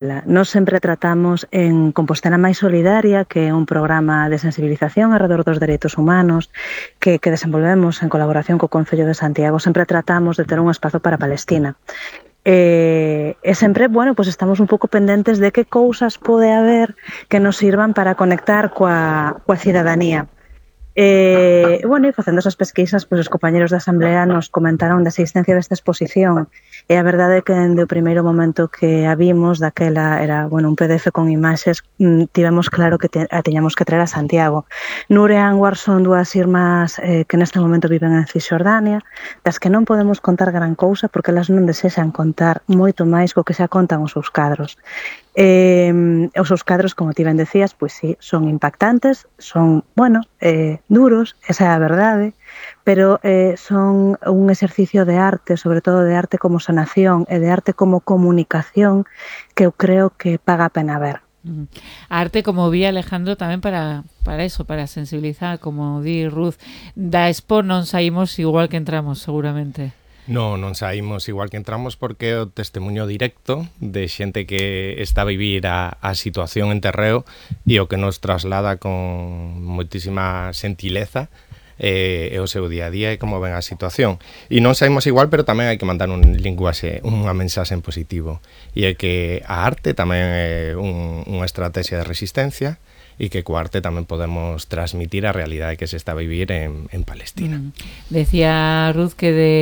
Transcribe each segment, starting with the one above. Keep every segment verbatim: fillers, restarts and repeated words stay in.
Nós sempre tratamos en Compostela Máis Solidaria, que é un programa de sensibilización alrededor dos dereitos humanos que, que desenvolvemos en colaboración co Concello de Santiago. Sempre tratamos de ter un espazo para Palestina. E, e sempre, bueno, pues estamos un pouco pendentes de que cousas pode haber que nos sirvan para conectar coa, coa cidadanía. E, bueno, e facendo esas pesquisas, pois os compañeros da Asamblea nos comentaron da existencia desta exposición, e a verdade é que dende o primeiro momento que a vimos, daquela era, bueno, un P D F con imaxes, tivemos claro que te, a teñamos que traer a Santiago. Nur e Anwar son dúas irmás eh, que neste momento viven en Cisxordania, das que non podemos contar gran cousa porque elas non desexan contar moito máis co que xa contan os seus cadros. Eh, os seus cadros, como ti ben decías, pois sí, son impactantes, son, bueno, eh, duros, esa é a verdade, pero eh, son un exercicio de arte, sobre todo de arte como sanación e de arte como comunicación que eu creo que paga a pena ver. A arte como vía, Alejandro, tamén para, para eso, para sensibilizar, como di Ruth, da expo non saímos igual que entramos, seguramente. Non, non saímos igual que entramos porque é o testemunho directo de xente que está a vivir a, a situación en terreo e o que nos traslada con moitísima sentileza e, e o seu día a día e como ven a situación. E non saímos igual, pero tamén hai que mandar un linguaxe, unha mensaxe en positivo. E é que a arte tamén é un, unha estrategia de resistencia e que co arte tamén podemos transmitir a realidade que se está a vivir en, en Palestina. Mm. Decía Ruth que de,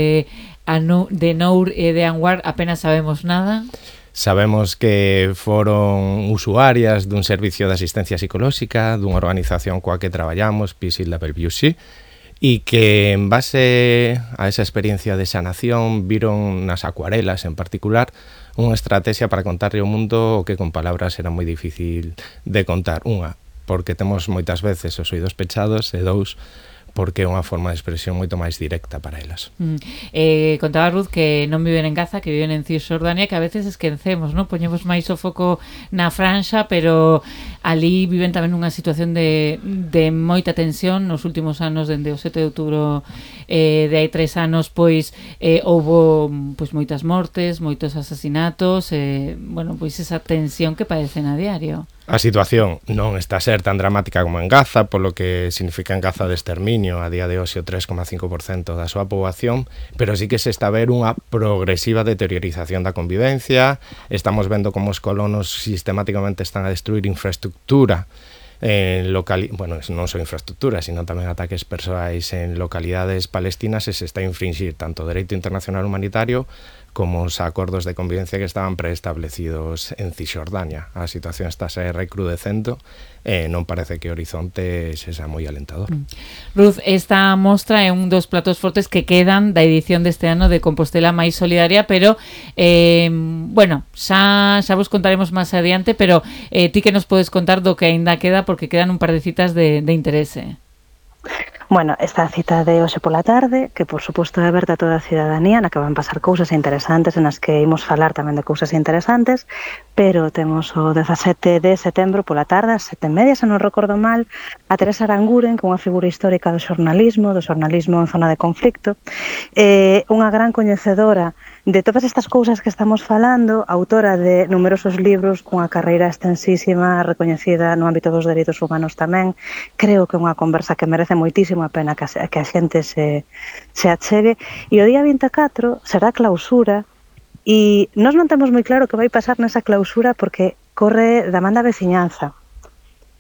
de Nur e de Anwar apenas sabemos nada. Sabemos que foron usuarias dun servicio de asistencia psicolóxica, dunha organización coa que traballamos, Peace in W C, e que en base a esa experiencia de sanación viron nas acuarelas en particular unha estrategia para contarle ao mundo o que con palabras era moi difícil de contar. Unha, porque temos moitas veces os oídos pechados, e dous, porque é unha forma de expresión moito máis directa para elas. Mm. Eh, contaba Ruth que non viven en Gaza, que viven en Cisxordania, que a veces esquecemos, non? Poñemos máis o foco na franxa, pero ali viven tamén nunha situación de, de moita tensión nos últimos anos, dende o sete de outubro eh, de hai tres anos, pois eh, houbo pois, moitas mortes, moitos asasinatos, eh, bueno, pois esa tensión que padecen a diario. A situación non está a ser tan dramática como en Gaza, polo que significa en Gaza de exterminio, a día de hoxe o tres coma cinco por cento da súa poboación, pero sí que se está a ver unha progresiva deteriorización da convivencia. Estamos vendo como os colonos sistemáticamente están a destruir infraestructura en locali- bueno, non só infraestructura, sino tamén ataques persoais en localidades palestinas, e se está a infringir tanto o dereito internacional humanitario como os acordos de convivencia que estaban preestablecidos en Cisxordania. A situación está a ser recrudecendo e non parece que o horizonte sexa moi alentador. Mm. Ruth, esta mostra é un dos platos fortes que quedan da edición deste ano de Compostela Máis Solidaria, pero eh, bueno, xa, xa vos contaremos máis adiante, pero eh, ti que nos podes contar do que aínda queda, porque quedan un par de citas de, de interese. Bueno, esta cita de hoxe pola tarde, que por suposto é aberta a toda a cidadanía, na que van pasar cousas interesantes, en as que imos falar tamén de cousas interesantes, pero temos o dezasete de setembro pola tarde, as sete e media, se non recordo mal, a Teresa Aranguren, que é unha figura histórica do xornalismo, do xornalismo en zona de conflicto, eh, unha gran coñecedora de todas estas cousas que estamos falando, autora de numerosos libros, cunha carreira extensísima, recoñecida no ámbito dos dereitos humanos tamén. Creo que é unha conversa que merece moitísimo a pena que a, que a xente se, se achegue. E o día vinte e catro será clausura, e nós non temos moi claro que vai pasar nesa clausura porque corre da man da veciñanza.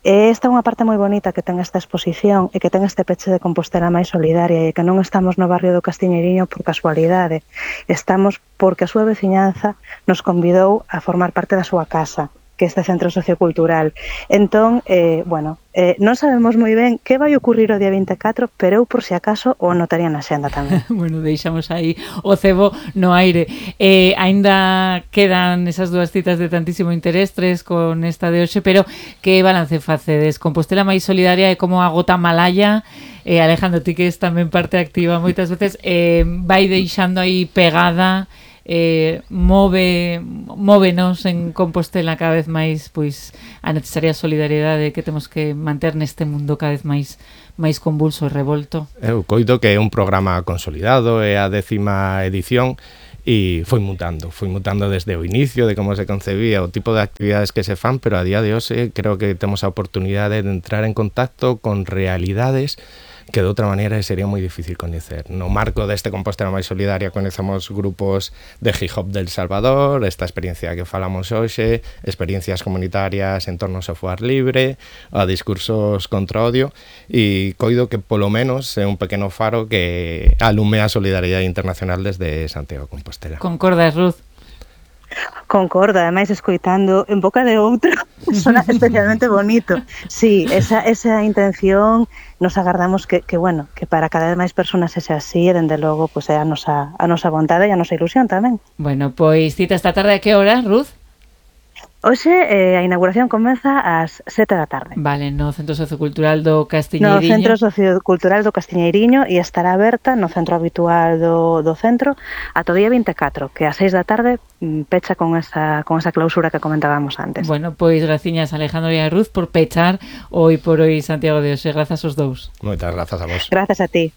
E esta é unha parte moi bonita que ten esta exposición e que ten este peche de Compostela Máis Solidaria, e que non estamos no barrio do Castiñeiriño por casualidade, estamos porque a súa veciñanza nos convidou a formar parte da súa casa, que é este centro sociocultural. Entón, eh, bueno, eh, non sabemos moi ben que vai ocurrir o día vinte e catro, pero eu, por si acaso, o anotaría na xenda tamén. Bueno, deixamos aí o cebo no aire. Eh, aínda quedan esas dúas citas de tantísimo interés, tres con esta de hoxe, pero que balance facedes? Compostela Máis Solidaria é como a gota malaya. Eh, Alejandro, ti que es tamén parte activa moitas veces, eh, vai deixando aí pegada, eh, move móvenos en Compostela cada vez máis pois a necesaria solidariedade que temos que manter neste mundo cada vez máis máis convulso e revolto. Eu coido que é un programa consolidado, é a décima edición, e foi mutando, foi mutando desde o inicio de como se concebía o tipo de actividades que se fan, pero a día de hoxe creo que temos a oportunidade de entrar en contacto con realidades que de outra maneira sería moi difícil coñecer. No marco deste Compostela máis solidaria conhecemos grupos de hip hop del Salvador, esta experiencia que falamos hoxe, experiencias comunitarias en torno ao software libre, a discursos contra odio, e coido que polo menos é un pequeno faro que alume a solidariedade internacional desde Santiago de Compostela. Concordas, Ruth? Concordo, ademais escoitando en boca de outro sona especialmente bonito. Sí, esa, esa intención nos agardamos que, que, bueno, que para cada vez máis persoas sexa así e, dende logo, pues, é a nosa, a nosa vontade e a nosa ilusión tamén. Bueno, pois cita esta tarde a que hora, Ruth? Hoxe eh, a inauguración comeza ás sete da tarde. Vale, no Centro Sociocultural do No Castiñeiriño. Centro Sociocultural do Castiñeiriño, e estará aberta no centro habitual do, do centro ata o día vinte e catro, que a seis da tarde mm, pecha con esa, con esa clausura que comentábamos antes. Bueno, pois graciñas Alejandro e a Ruth por pechar hoy por hoy Santiago de Hoxe. Grazas aos dous. Moitas grazas a vos. Grazas a ti.